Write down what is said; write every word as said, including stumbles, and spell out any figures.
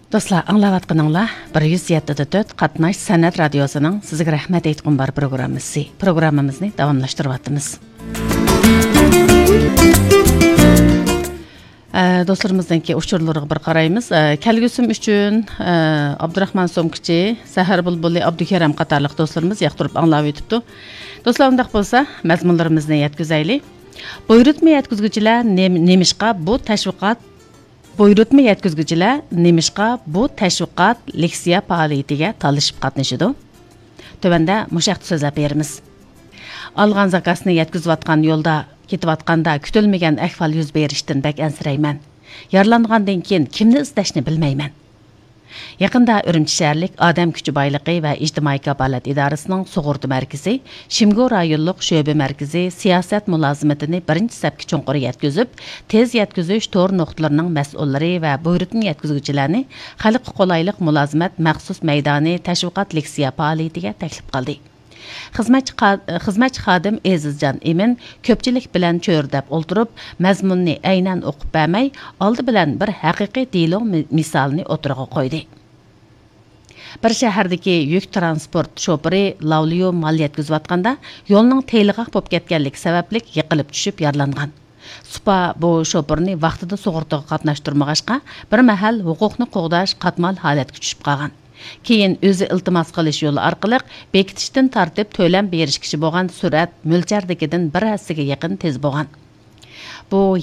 دوستلار، ئاڭلاۋاتقىنىڭلار بىر يۈز يەتتە دە تۆت قاتناش سەنئەت رادىيوسىنىڭ سىزگە رەھمەت ئېيتقۇم بار پروگراممىسى. پروگراممىمىزنى داۋاملاشتۇرۇۋاتىمىز. ئە، دوستلىرىمىزنىڭكى ئۇچۇرلىرىغا بىر قارايمىز. ئە، كەلگۈسىم ئۈچۈن، ئە، ئابدۇراخمان سومكىچى، سەھەر بۇلبۇلى، ئابدۇكېرەم قاتارلىق دوستلىرىمىز ياقتۇرۇپ ئاڭلاۋېتىپتۇ. دوستلار، ئۇنداق بولسا، مەزمۇنلىرىمىزنى يەتكۈزەيلى. بۇيرۇتما يەتكۈزگۈچىلەر نېم-، نېمىشقا بۇ تەشۋىقات بۇيرۇتما يەتكۈزگۈچىلەر نېمىشقا بۇ تەشۋىقات لېكسىيە پائالىيىتىگە تالىشىپ قاتنىشىدۇ؟ تۆۋەندە مۇشۇ ھەقتە سۆزلەپ بېرىمىز. ئالغان زاكازنى يەتكۈزۈۋاتقان يولدا كېتىۋاتقاندا كۈتۈلمىگەن ئەھۋال يۈز بېرىشتىن بەك ئەنسىرەيمەن. يارىلانغاندىن كېيىن كىمنى ئىزدەشنى بىلمەيمەن. يېقىندا ئۈرۈمچى شەھەرلىك ئادەم كۈچى بايلىقى ۋە ئىجتىمائىي كاپالەت ئىدارىسىنىڭ سۇغۇرتا مەركىزى، شىمگو رايونلۇق شۆبە مەركىزى سىياسەت مۇلازىمىتىنى بىرىنچى سەپكە چوڭقۇر يەتكۈزۈپ، تېز يەتكۈزۈش تور نۇقتىلىرىنىڭ مەسئۇللىرى ۋە بۇيرۇتما يەتكۈزگۈچىلەرنى خەلققە قولايلىق مۇلازىمەت مەخسۇس مەيدانى تەشۋىقات لېكسىيە پائالىيىتىگە تەكلىپ قىلدى. خىزمەتچى قا-، خىزمەتچى خادىم ئېزىزجان ئىمىن كۆپچىلىك بىلەن چۆرىدەپ ئولتۇرۇپ، مەزمۇننى ئەينەن ئوقۇپ بەرمەي، ئالدى بىلەن بىر ھەقىقىي دېلو مى-، مىسالىنى ئوتتۇرىغا قويدى. بىر شەھەردىكى يۈك تىرانسپورت شوپۇرى لاۋليۇ مال يەتكۈزۈۋاتقاندا، يولنىڭ تېيىلغاق بولۇپ كەتكەنلىكى سەۋەبلىك يىقىلىپ چۈشۈپ يارىلانغان. سۇپا بۇ شوپۇرنى ۋاقتىدا سۇغۇرتىغا قاتناشتۇرمىغاچقا، بىر مەھەل ھوقۇقنى قوغداش قاتمال ھالەتكە چۈشۈپ قالغان. كېيىن ئۆزى ئىلتىماس قىلىش يولى ئارقىلىق بېكىتىشتىن تارتىپ تۆلەم بېرىشكىچە بولغان سۈرئەت مۆلچەردىكىدىن بىر ھەسسىگە يېقىن تېز بولغان. بۇ